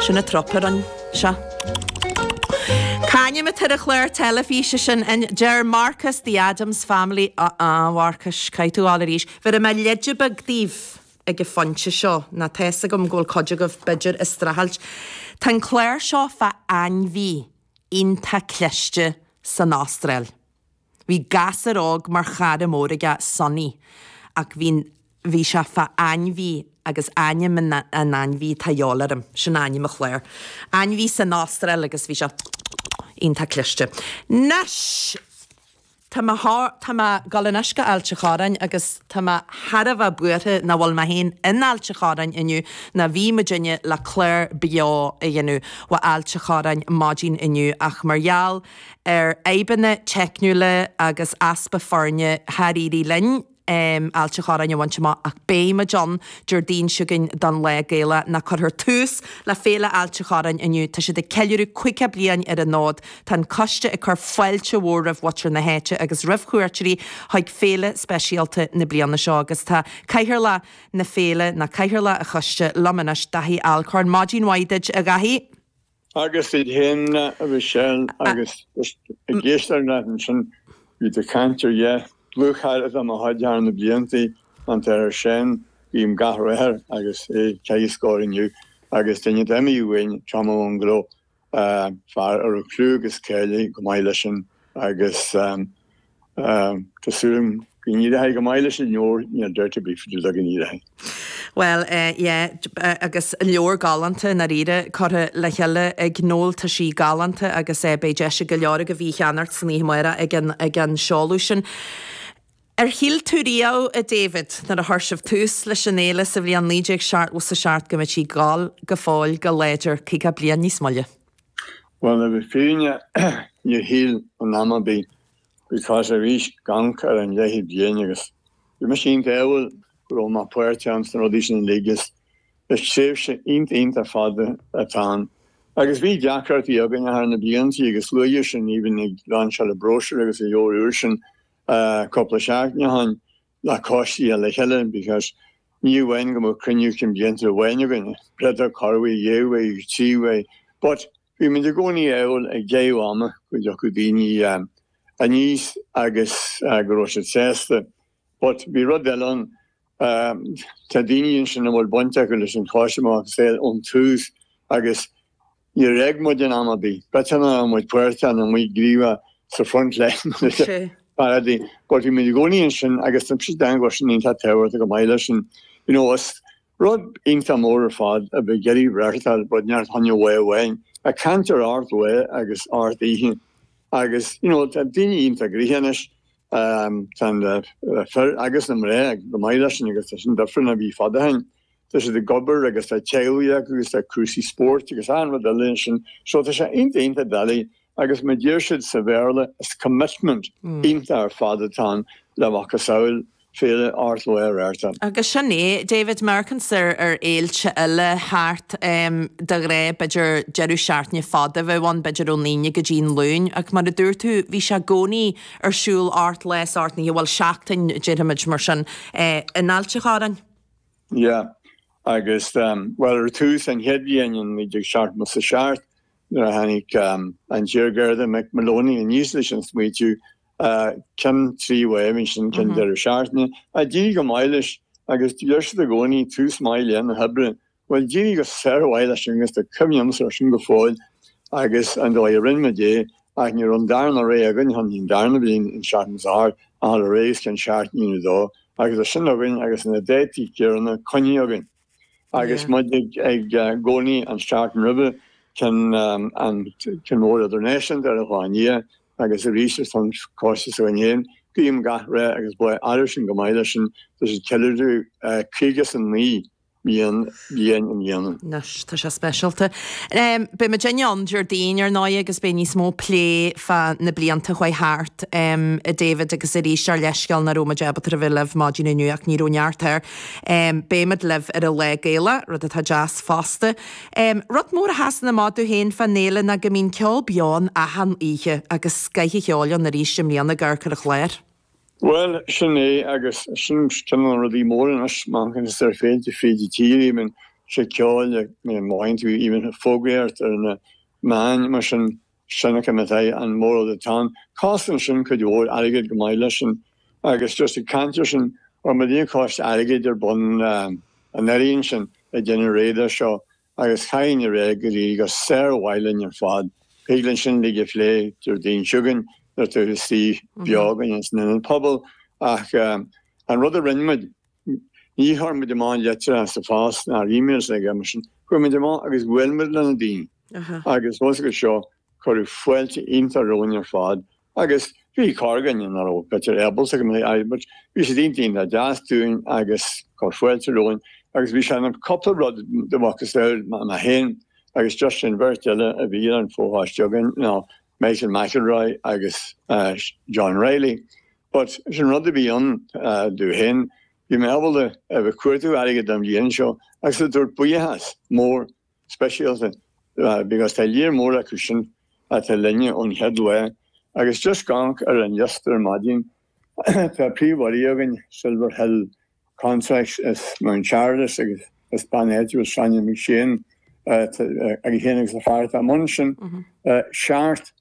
Sin an trup a rinn sé. C'ainm atá ar an chlár teilifíse sin? Deir Marcus The Addams Family. Ah ah, a Mharcais, caithfidh tú a ghabháil arís. Bhéarfaidh mé leide beag daoibh ag an phointe seo, nó tá fhios agam go bhfuil cuid agaibh b'fhéidir ag streachailt. Tá an clár seo fá ainmhí iontach cliste san Astráil. Bhí gasúr óg mar chara mór aige, Sonny, ach bhí, bhí sé fá ainmhí agus ainm an, an ainmhí atá a dhíobháil orm, sin ainm an chláir. Ainmhí san Astráil agus bhí sé iontach cliste. Anois! Tá mé, tá mé ag dul anois go Ailt a' Chorráin agus tá mé thar a bheith buartha nach bhfuil mé féin in Ailt a' Chorráin inniu ná bhí muidinne le clár beo a dhéanamh ó Ailt a' Chorráin maidin inniu ach mar gheall ar fhadhbanna teicniúla agus easpa foirne char éirigh linn Ailt a' Chorráin a bhaint amach ach beidh muid ann Déardaoin seo chugainn don Lá Gaelach ná cuirfear tús le Féile Ailt a' Chorráin inniu. Tá siad ag ceiliúradh 50 bliain ar an fhód. Tá an coiste ag cur fáilte mhór roimh mhuintir na háite agus roimh chuairteoirí chuig féile speisialta na bliana seo agus tá Cathaoirleach na féile, ná Cathaoirleach an choiste, liom anois, Daithí Alcorn. Maidin mhaith duit, a Dhaithí. Agus duit féin, a Mhichelle, agus ag éisteacht leat ansin, bhí tú ag caint ar dheich dlúthchara de mo chuid thar na blianta, an t-Athair Seán, guím gach rath air agus é ag caitheamh scóir inniu, agus duine atá imithe uainn, Tom Ó Munglo, fear a raibh clú agus cáil go maith leis sin agus tá súil agam go n-éireoidh go maith leis an leabhar, níl dabht ar bith faoi go n-éireoidh. Bhuel, yeah, agus leabhar galánta i ndáiríre curtha le chéile ag Noel, tá sí galánta agus beidh deis ag go leor agaibh í a cheannacht san oíche amárach ag an, ag an seoladh sin. Ar shíl tú riamh, a David, nuair a chuir sibh tús leis an fhéile sa bhliain 1977 go mbeadh sí ag gabháil go fóill go láidir 50 bliain níos moille? Bhuel, le bheith fírinne, níor shíl in am ar bith because arís ag amharc ar an leathchéad bliain agus bhí mise iontach ádhúil go raibh mé páirteach ins na rudaí sin uilig is is tréimhse iontach iontach fada atá ann. Agus bhí deacrachtaí againn thar na blianta agus luaithe sin even ag lainseáil an bróisiúr agus an leabhar úr sin cúpla seachtain ó shin le coistí le chéile because ní amháin go mbeadh cruinniú cinn bliantúil amháin againn, b'fhéidir corruair, dhá uair, trí uair, but bhí muid i gcónaí ádhúil ag deireadh ama go dtiocfadh daoine aníos agus go raibh siad sásta. But bhí rud eile ann, tá daoine ansin a bhfuil baint acu leis an choiste amach ón tús agus Níor fhág muid in am ar bith. B'fhéidir nach raibh muid páirteach nó amuigh gníomhach sa front line mar a déarfá, but bhí muid i gcónaí ansin agus tá mise ag déanamh go bhfuil sin iontach tábhachtach go maith leis sin. You know, is rud iontach mór ar fad a bheith ag iarraidh reáchtáil rud neart choinne lá amháin. Ag caint ar ocht lá agus ocht oíche agus you know, tá daoine iontach gnoitheach anois, tá na fir agus na mná go maith leis sin agus tá sin difriúil ná bhí fada ó shin. Tá siad ag obair agus tá teaghlaigh acu agus tá cúrsaí spóirt agus achan rud eile ansin. So tá sé iontach iontach doiligh agus mar a deir siad sa Bhéarla is commitment iontach ar fad atá ann le macasamhail féile ocht lá a reáchtáil. Agus sin é, David, má amharcann tú ar fhéilte eile thart de ghnáth b'fhéidir deireadh seachtaine fada a bheadh ann, b'fhéidir ón Aoine go dtí an Luan, ach mar a dúirt tú, bhí sé i gcónaí ar siúl ocht lá is ocht n-oíche, bhuel seachtain déarfaimid mar sin, in Ailt a' Chorráin. Yeah. Agus, bhuel, ar tús an chéad bhliain in 1977, nuair a tháinig an t-iarGharda Mick Moloney aníos leis an smaoitiú, ceann 3 lá a bhí ansin, ceann deireadh seachtaine, ach d'éirigh go maith leis agus deir siad i gcónaí tús maith le na hoibre. Bhuel, d'éirigh go sármhaith leis sin agus tá cuimhne agamsa air sin go fóill agus an dóigh a rinne muid é ach ní raibh an darna rogha againn chun an darna bliain in 78 a dhul ar aghaidh is ceann seachtaine nó dó agus é sin againn agus na dátaí céanna coinnithe againn agus muid ag gcónaí an seachtain roimhe ceann an ceann mór idirnáisiúnta ar an lá i ndiaidh agus arís ar son coiste s'againn féin. Guím gach rath agus bláth air sin go maith leis sin tá siad ceiliúradh 59 bliain i mbliana. Anois, tá sé speisialta. Beidh muidinne ann Déardaoin, ar ndóigh, agus beidh níos mó plé fá na blianta a chuaigh thart, a David, agus arís ár leithscéal nach raibh muid ábalta a bheith libh maidin inniu ach ní raibh neart air. Beimid libh ar an Lá Gaelach, rud atá deas fosta. Rud mór a sheasann amach domh féin fán fhéile ná go mbíonn ceol beo ann achan oíche agus scoith an cheoil ann arís i mbliana ag amharc ar an chlár. Bhuel, sin é, agus sin ceann de na rudaí móra anois, má amharcann tú ar féilte fríd an tír, even. sé ceol má fhaigheann tú even fógraíocht ar na meáin mar sin, sin é an mórrud atá ann. Coscann sin cuid mhór airgid go maith leis sin agus just ag caint ar sin, chuir muid coiste airgid ar bun anuraidh ansin ag déanamh réidh dó seo agus chaithfinn a rá go dtí go sármhaith linn ar fad. Thig linn sin uilig a phlé Déardaoin seo chugainn nuair atá tú istigh beo againn san Ionad Pobail ach an rud a rinne muid, ní chuir muid amach litreacha sa phost ná emails ag mar sin, chuaigh muid amach agus bhuail muid le na daoine agus fós agus seo cuireadh fáilte iontach romhainn ar fad Agus bhí corrdhuine nach raibh b'fhéidir ábalta go mbeadh aghaidh but bhí siad iontach iontach deas dúinn agus chuir fáilte romhainn agus bhí sé ina cúpla rud de mhacasamhail mé féin agus just an bheirt eile a bhí ar an fho-choiste againn ná Michael McElroy agus John Reilly. But sin rud a bhí ann domh féin, bhí mé ábalta a bheith cuartú airgead don bhliain seo agus a dtabhairt buíochas mór speisialta because tá lear mór acu sin atá linne ón chéad lá agus just ag amharc ar an liosta ar maidin tá príomhurraí againn, Silver Hill Contracts as Mount Charles agus is bean áitiúil Sonia McShane agus í féin agus a fear atá i mbun sin. Seacht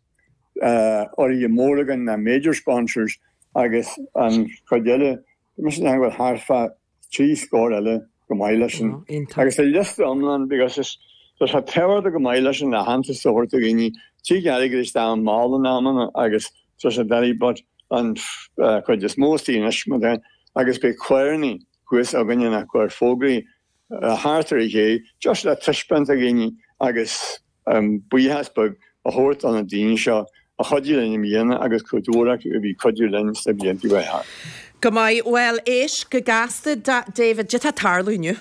urraithe mór againn na major sponsors agus an chuid eile, tá mise ag déanamh go bhfuil thart fá 3 scór eile go maith leis sin. Agus tá liosta iomlán because is tá sé tábhachtach go maith leis an aitheantas a thabhairt do dhaoine, tig airgead isteach mall in amanna agus tá sé doiligh but an chuid is mó istigh anois mar tá agus beidh carrannaí thuas againne ná cuir fógraí thart ar an ché just le taispeáint do dhaoine agus buíochas beag a thabhairt do na daoine seo a chuidigh linn i mbliana agus cuid mhór acu a bhí ag cuidiú linn sna blianta a chuaigh thart. Go maith. Bhuel, éist go gasta, David, cad tá ag tarlú inniu?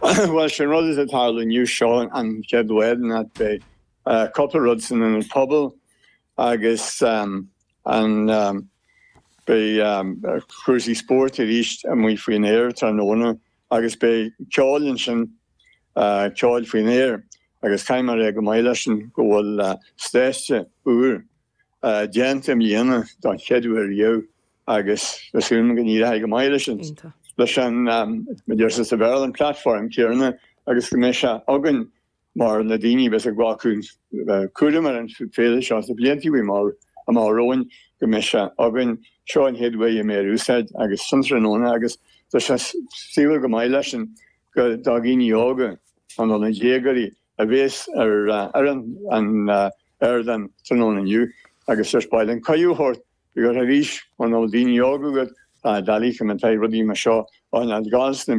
Bhuel, sé an rud atá ag tarlú inniu seo an chéad lá ná beidh cúpla rud san Ionad Pobail agus an beidh cúrsaí spóirt arís amuigh faoin aer tráthnóna agus beidh ceol ansin, ceol faoin aer agus caithfidh mé a rá go maith leis sin go bhfuil stáitse úr déanta i mbliana don chéad uair riamh agus tá súil agam go n-éireoidh go maith leis an, leis an, mar a deirtear sa Bhéarla, an platform céanna agus go mbeidh sé againn mar na daoine a bheas ag glacadh cúram ar an féile seo sna blianta amach romhainn go mbeidh sé againn. Seo an chéad uair a mbeidh ar úsáid agus sin tráthnóna agus tá sé saoithiúil go maith leis sin go do dhaoine óga nó do na déagóirí a bhéas ar ar an ardán tráthnóna inniu agus just ba mhaith linn cuireadh a thabhairt because arís muna bhfuil daoine óga agat tá doiligh go mbeidh rudaí mar seo á n-fhágáil sna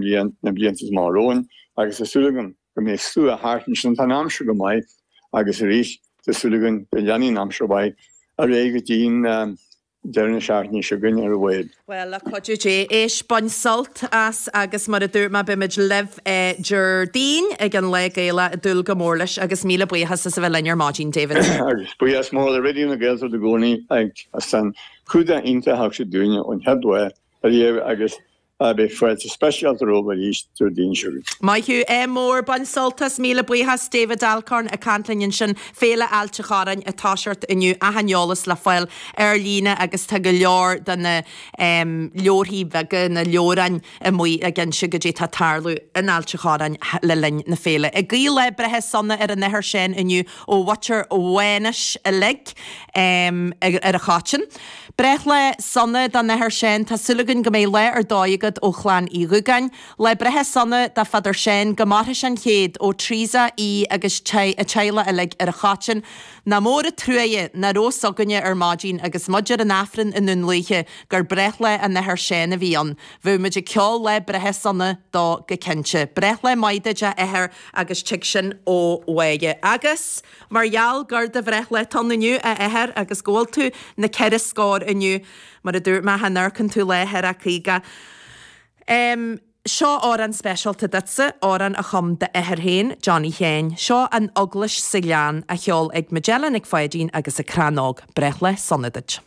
blianta amach romhainn agus tá súil agam go mbeidh slua thart ansin. Tá an aimsir go maith agus arís tá súil againn go leanfaidh an aimsir mhaith ar aghaidh go dtí an deireadh na seachtaine seo chugainn ar a mhéad. Bhuel, le cuidiú Dé, éist, bain sult as agus mar a dúirt mé, beimid libh Déardaoin ag an Lá Gaelach, ag dúil go mór leis agus míle buíochas as a bheith linn ar maidin, David. Agus buíochas mór le Raidió na Gaeltachta i gcónaí as an chumhdach iontach a thug siad dúinne ón chéad lá ariamh agus Beidh fáilte speisialta romhaibh arís Déardaoin seo chugainn. Maith thú, ádh mór, bain sult as, míle buíochas, David Alcorn ag caint linn ansin, Féile Ailt a' Chorráin ag toiseacht inniu, achan eolas le fáil ar líne agus tá go leor de na leabharthaí beaga, na leabhráin amuigh ag inse goidé tá ag tarlú in Ailt a' Chorráin le linn na féile. Ag guí lá breithe sona ar an Athair Seán inniu ó mhuintir Mhánais uilig ar an Choiteann. Breithlá sona don Athair Seán, tá súil againn go mbeidh lá ar dóigh agat ó chlann Uí Dhúgáin. Lá breithe sona do Pheadar Seán, go mairfidh sé an chéad, ó Teresa, Aodh agus a teaghlach uilig ar an Choiteann. Nach mór an truaighe nach raibh fhios againne ar maidin agus muid ar an Aifreann i nDún Lúiche gur breithlá an Athar Seán a bhí ann. Bheadh muid ag ceol lá breithe sona dó go cinnte. Breithlá maith duit a Athair agus tig sin ó Mháire. Agus. Mar gheall gur do bhreithlá atá ann inniu, a Athair, agus go bhfuil tú na ceithre scór inniu, mar a dúirt mé, chan amharcann tú lá thar a 50. Em, seo amhrán speisialta duitse, amhrán a chum d'athair féin, Johnny Sheáin. Seo An Eaglais sa Ghleann, á cheol ag Majella Nic Pháidín agus an Crann Óg. Breithlá sona duit.